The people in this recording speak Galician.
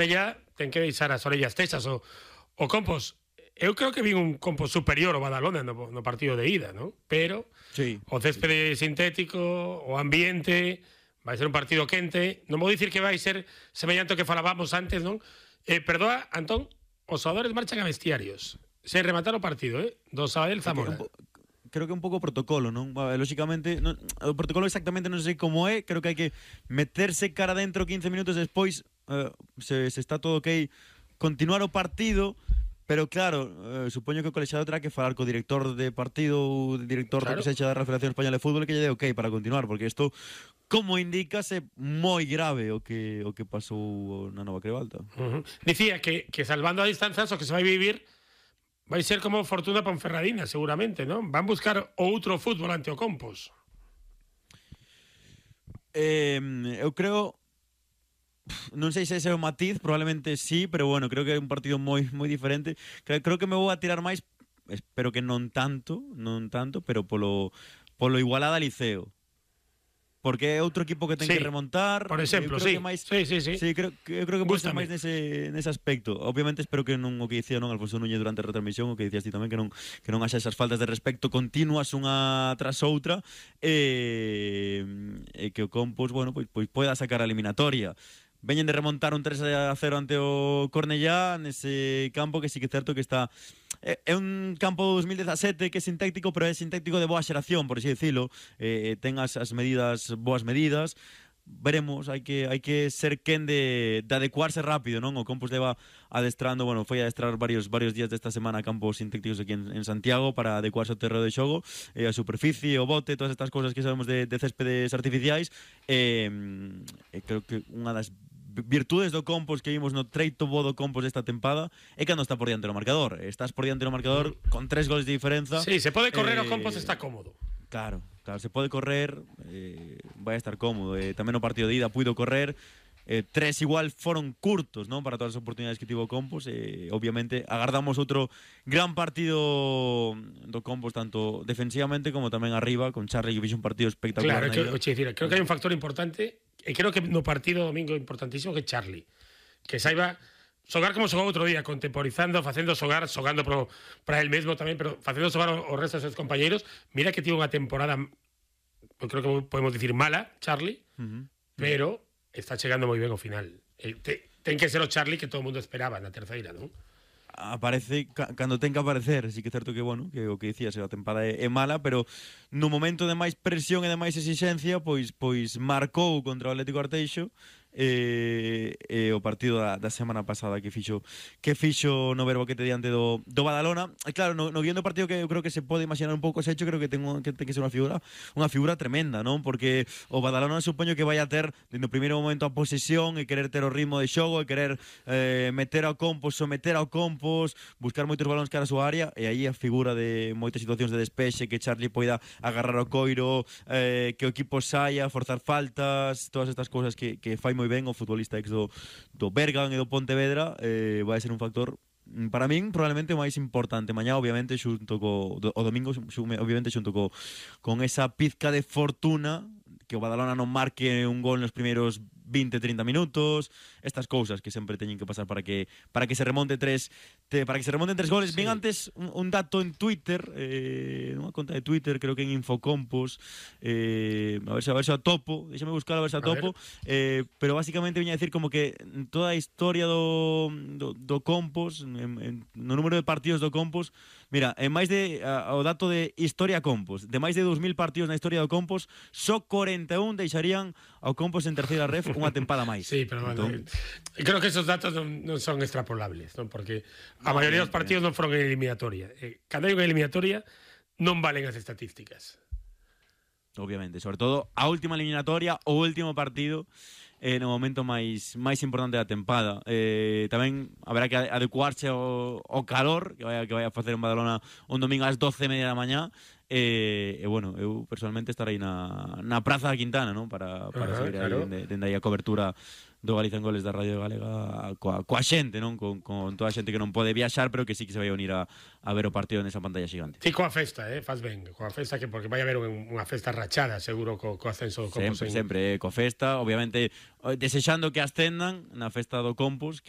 ella ten que deixar as orellas tesas o Compos. Eu creo que vi un Compos superior ao Badalona no partido de ida, ¿no? Pero sí, o céspede sintético, o ambiente, vai ser un partido quente. Non vou dicir que vai ser semellante ao que falábamos antes, non? Perdoa, Antón, os xogadores marchan a vestiarios sen rematar o partido, do Sabadell Zamora. Creo que é un pouco protocolo, non? Lóxicamente, o protocolo exactamente non sei como é. Creo que hai que meterse cara dentro 15 minutos despois, se está todo ok, continuar o partido. Pero claro, supoño que o colexiado terá que falar co director de partido ou director do que sexa da Federación Española de Fútbol que lle dé ok para continuar, porque isto, como indícase, moi grave o que pasou na Nova Crebalta. Dicía que salvando a distancias o que se vai vivir vai ser como Fortuna Ponferradina, seguramente, non? Van buscar outro fútbol ante o Compos. Eu creo... Non sei se ese é o matiz, probablemente sí, pero bueno, creo que é un partido moi diferente. Creo que me vou a tirar máis, espero que non tanto, pero polo Igualada Liceo. Porque é outro equipo que ten que remontar. Por exemplo, sí. Sí, creo que pode ser máis nese aspecto. Obviamente espero que non o que dicía Alfonso Núñez durante a retransmisión, o que dicías ti tamén, que non haxa esas faltas de respecto continuas unha tras outra, e que o Compos, bueno, pois poida sacar a eliminatoria. Veñen de remontar un 3-0 ante o Cornellá nese campo que sí que é certo que está... É un campo 2017 que é sintético, pero é sintético de boa xeración, por así dicilo. Ten as medidas, boas medidas. Veremos, hai que ser quen de adecuarse rápido, non? O Compos leva adestrando, bueno, foi a adestrar varios días desta semana a campos sintéticos aquí en Santiago para adecuarse ao terreo de xogo, a superficie, o bote, todas estas cousas que sabemos de céspedes artificiais. Creo que unha das virtudes do Compos que vimos no treito bo do Compos desta tempada é cando está por diante do marcador. Estás por diante do marcador con 3 goles de diferenza. Sí, se pode correr, o Compos está cómodo. Claro, se pode correr, vai a estar cómodo. Tamén no partido de ida puido correr. 3 igual foron curtos, non, para todas as oportunidades que tivo o Compos. Obviamente agardamos outro gran partido do Compos, tanto defensivamente como tamén arriba, con Charlie, que fixe un partido espectacular. Claro, creo que hai un factor importante, e creo que no partido domingo importantísimo, que Charlie, que saiba xogar como xogou outro día, contemporizando, facendo xogar, xogando para el mesmo tamén, pero facendo xogar o resto dos seus compañeiros. Mira que tivo unha temporada, creo que podemos dicir mala, Charlie, pero está chegando moi ben ao final. Ten que ser o Charlie que todo o mundo esperaba na terceira, non? Aparece cando ten que aparecer. Sí que é certo que, bueno, que o que dicías, a tempada é mala, pero no momento de máis presión e de máis exixencia, pois marcou contra o Atlético Arteixo, o partido da semana pasada que fixo no Verboquete diante do Badalona. E claro, no guión do partido, que eu creo que se pode imaginar un pouco ese hecho, creo que ten que ser unha figura tremenda, non? Porque o Badalona supoño que vai a ter dentro do primeiro momento a posesión e querer ter o ritmo de xogo e querer meter ao Compos, someter ao Compos, buscar moitos balóns cara a súa área, e aí a figura de moitas situacións de despexe, que Charlie poida agarrar o coiro, que o equipo saia, forzar faltas, todas estas cousas que fai moi ben o futbolista ex do Bergan e do Pontevedra. Vai ser un factor, para min, probablemente o máis importante mañá, obviamente xunto o domingo, obviamente xunto con esa pizca de fortuna, que o Badalona non marque un gol nos primeiros 20-30 minutos, estas cousas que sempre teñen que pasar para que se remonte tres goles. Sí. Bien, antes un dato en Twitter, nunha conta de Twitter, creo que en Infocompos, a ver se a topo, déxame buscar a ver se a topo, pero basicamente viña a decir como que toda a historia do Compos, no número de partidos do Compos, mira, en máis de o dato de historia Compos, de máis de 2000 partidos na historia do Compos, só 41 deixarían ao Compos en terceira ref unha tempada máis. Sí, pero bueno, creo que esos datos non son extrapolables, non? Porque a maioría dos partidos non foron en eliminatoria. Cando hai unha eliminatoria non valen as estatísticas. Obviamente, sobre todo a última eliminatoria, o último partido, no momento máis importante da tempada. Tamén haberá que adecuarse ao calor que vai a facer en Badalona un domingo ás 12:30 da mañá. Bueno, eu personalmente estarei na Praza da Quintana, non? Para seguir aí dende aí a cobertura do Galicia en Goles da Radio Galega coa xente, non? Con toda a xente que non pode viaxar, pero que sí que se vai unir a ver o partido nesa pantalla xigante. Sí, coa festa, faz ben, coa festa, que porque vai haber unha festa rachada, seguro, co ascenso do Compos. Sempre, coa festa, obviamente, desexando que ascendan na festa do Compos, que